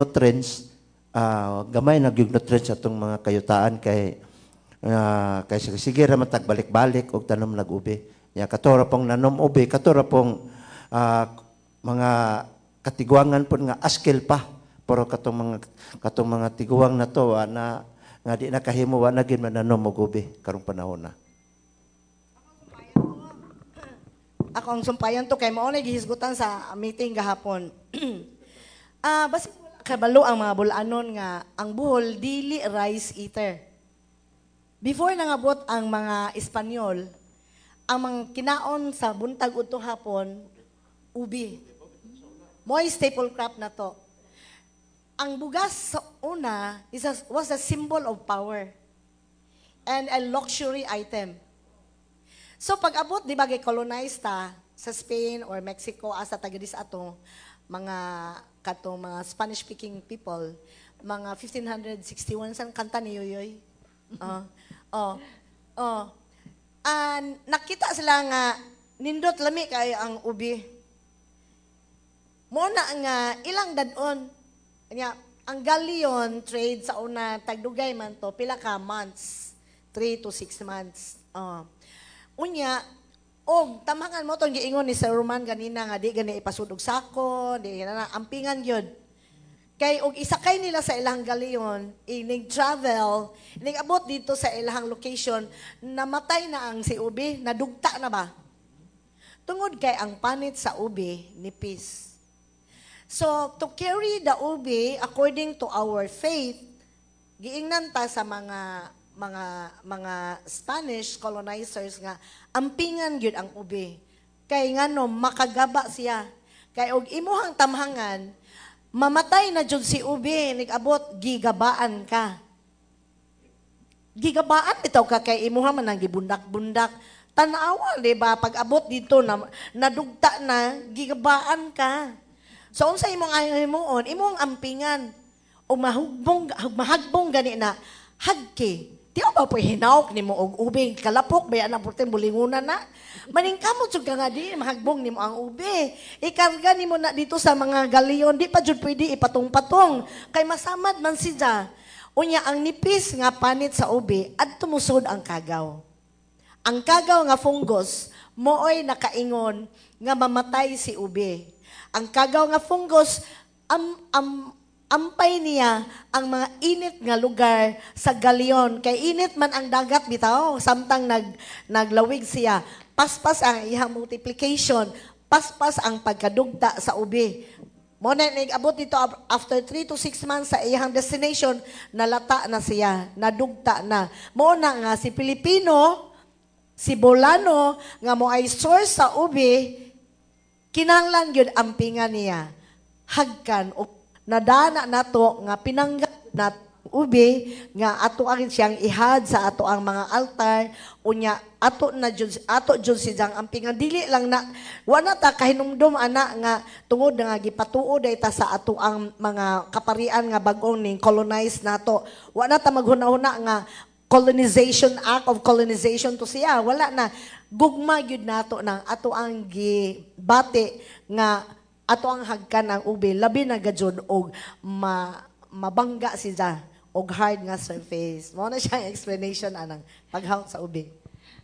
Nutrients, gamay na gyud nutrients atong mga kayutaan kay kay sige ra man tag balik-balik og tanom nag ubi. Ya kato ra pong nanom ubi, kato ra pong mga katiguangan pud nga askil pa. Pero katong mga tiguang na to wa na nga di na kahimo, wa na gyud mananom og ubi karong panahon na. Akong sumpayan to kay mao na gihisgutan sa meeting gahapon. Basi wala kabalo ang mga bulanon nga ang Bohol dili rice eater. Before nangabot ang mga Espanyol, ang mga kinaon sa buntag udto hapon, ubi. Mo'y staple crop na to. Ang bugas sa una was a symbol of power and a luxury item. So pag abot, di ba, colonize ta sa Spain or Mexico, asa taga ato, mga katong mga Spanish-speaking people, mga 1561, san kanta ni Yoyoy? Oh, oh, oh. Nakita sila nga nindot lami kay ang ubi. Mo na nga ilang dadon. Nya, ang galleon trade sa una tagdugay man to pila ka months, 3 to 6 months. Oh. Unya, og tamangan mo tong giingon ni Sir Roman ganina nga di gani ipasud og sako, di na ampingan gyud. Kay og isakay nila sa ilang galleon, inig travel, inig abot dito sa ilang location, namatay na ang si ubi, nadugta na ba? Tungod kay ang panit sa ubi nipis. So, to carry the ubi according to our faith, giingnan ta sa mga Spanish colonizers nga ampingan gyud ang ubi. Kay ngano makagaba siya. Kay og imuhang tamhangan, mamatay na jud si ubi, nigabot gigabaan ka. Gigabaan bitaw ka kay imuha man ang gibundak-bundak. Tan-awa, di ba? Pag abot dito na nadugta na, gigabaan ka. So unsa imong himuon, imong ampingan o mahugbong mahagbong gani na hagki. Di ba po hinawk nimo og ubi kalapok ba na purte bulingunan na. Maningkamot jud ka nga di mahagbong nimo ang ubi. Ikarga nimo na dito sa mga galeon, di pa jud pwede ipatong-patong kay masamad man siya. Unya ang nipis nga panit sa ubi adto mosud ang kagaw. Ang kagaw nga fungus mooy nakaingon nga mamatay si ubi. Ang kagaw nga fungus, ampay niya ang mga init nga lugar sa galyon. Kay init man ang dagat bitaw, samtang naglawig siya. Paspas ang iyang multiplication, paspas ang pagkadugta sa ubi. Mo na nag-abot dito after 3 to 6 months sa iyang destination, nalata na siya, nadugta na. Mo na nga si Pilipino, si Bolano, nga mo ay source sa ubi, kinahanglan gyud ampingan niya. Hagkan o nadana nato nga pinangga nat ubi nga ato ang siyang ihad sa ato ang mga altar, unya ato na jud ato jud siyang ampingan, dili lang na wa na ta kahinumdum ana nga tungod nga gipatuo day ta sa ato ang mga kaparian nga bag-ong ning colonize nato, wa na ta maghuna-huna nga colonization, act of colonization to siya, wala na. Gugma gyud nato nang ato ang gibati nga ato ang hagkan ang ubi, labi na gajud og mabangga siya og hard nga surface. Mao na siya ang explanation anang paghawk sa ubi.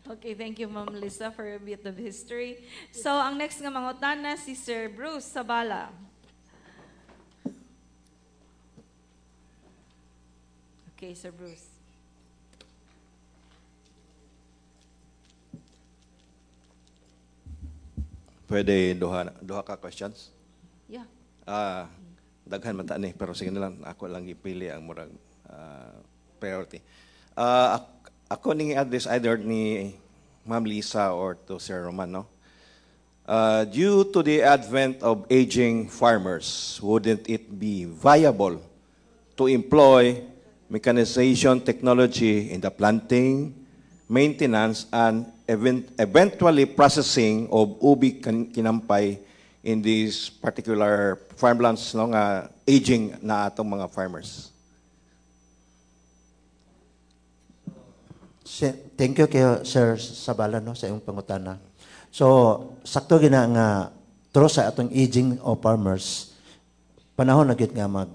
Okay, thank you, Ma'am Lisa, for a bit of history. So, ang next nga mangutana si Sir Bruce Sabala. Okay, Sir Bruce. Pwede duha ka questions? Yeah. Daghan man ta ni, pero sige na lang, ako lang ipili ang murag priority. Ako ning address either ni Ma'am Lisa or to Sir Roman, no? Due to the advent of aging farmers, wouldn't it be viable to employ mechanization technology in the planting, maintenance, and eventually processing of ubi kinampay in these particular farmlands, no, nga aging na atong mga farmers? Thank you kayo, Sir Sabala, no, sa iyong pangutana. So, sakto gina nga through sa atong aging of farmers, panahon na gyud nga mag